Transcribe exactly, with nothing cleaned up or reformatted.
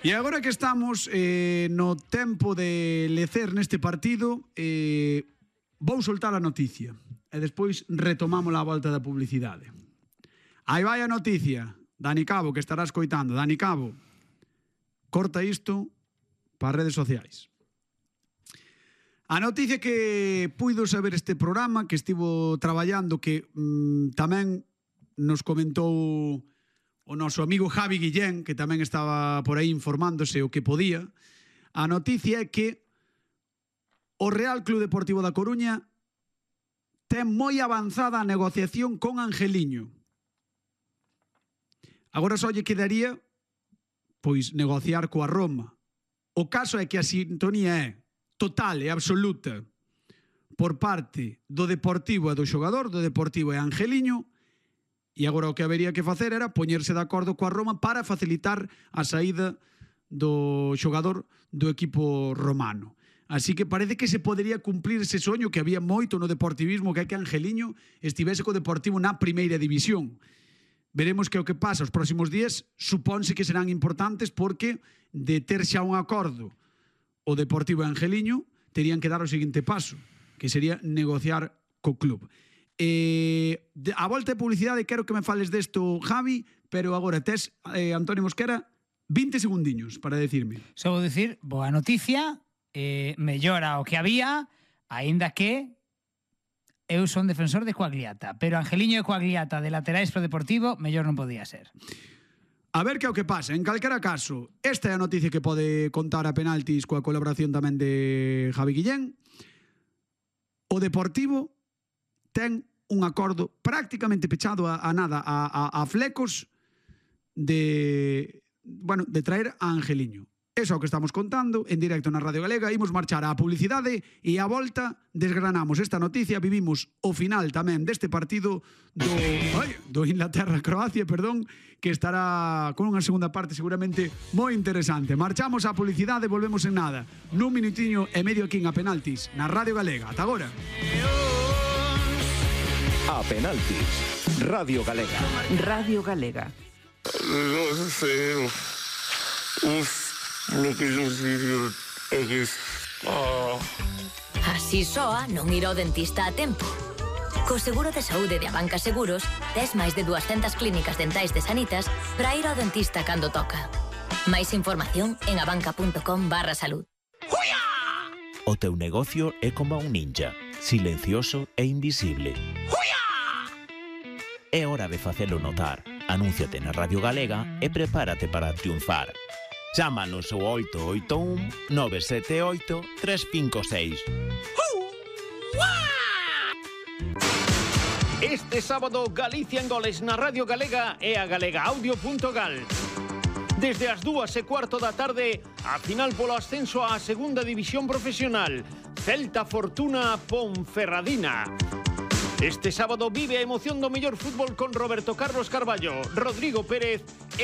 E agora que estamos eh, no tempo de lecer neste partido, eh, vou soltar a noticia e despois retomamos a volta da publicidade. Aí vai a noticia. Dani Cabo, que estará escoitando. Dani Cabo, corta isto para as redes sociais. A noticia que puido saber este programa, que estivo traballando, que mmm, tamén nos comentou o noso amigo Javi Guillén, que tamén estaba por aí informándose o que podía. A noticia é que o Real Club Deportivo da Coruña ten moi avanzada a negociación con Angeliño. Agora só lle quedaría pois negociar coa Roma. O caso é que a sintonía é total e absoluta por parte do Deportivo e do xogador, do Deportivo e Angeliño. E agora o que habería que facer era poñerse de acordo coa Roma para facilitar a saída do xogador do equipo romano. Así que parece que se podería cumplir ese soño que había moito no deportivismo, que é que Angeliño estivese co Deportivo na primeira división. Veremos que o que pasa os próximos días, supónse que serán importantes porque de ter xa un acordo o Deportivo e Angeliño terían que dar o seguinte paso, que sería negociar co club. Eh, a volta de publicidade quero que me fales desto, Javi, pero agora tes, eh, Antonio Mosquera, vinte segundiños para decirme. Só vou dicir, boa noticia, eh, mellora o que había, aínda que eu son defensor de Coagliata, pero Angeliño e Coagliata de laterais pro Deportivo, mellor non podía ser. A ver que é o que pasa. En calquera caso, esta é a noticia que pode contar a penaltis coa colaboración tamén de Javi Guillén. O Deportivo ten un acordo prácticamente pechado a, a nada, a, a, a flecos de, bueno, de traer a Angeliño. Eso é o que estamos contando en directo na Radio Galega. Imos marchar á publicidade e á volta desgranamos esta noticia. Vivimos o final tamén deste partido do, ai, do Inglaterra-Croacia, perdón, que estará con unha segunda parte seguramente moi interesante. Marchamos á publicidade e volvemos en nada. Nun minutiño e medio aquí a penaltis na Radio Galega. Ata agora. A penaltis, Radio Galega. Radio Galega. Non sei, uf, lo que yo digo é que... Oh. Así soa non ir ao dentista a tempo. Co seguro de saúde de Abanca Seguros, tes máis de duascentas clínicas dentais de Sanitas para ir ao dentista cando toca. Máis información en abanca.com barra salud. O teu negocio é como un ninja, silencioso e invisible. É hora de facelo notar. Anúnciate na Radio Galega e prepárate para triunfar. Chámanos ao oito oito un nove sete oito tres cinco seis. Este sábado Galicia en goles na Radio Galega e a galegaaudio.gal. Desde as dúas e cuarto da tarde, a final polo ascenso á segunda división profesional. Celta Fortuna Ponferradina. Este sábado vive a emoción do mellor fútbol con Roberto Carlos Carballo, Rodrigo Pérez e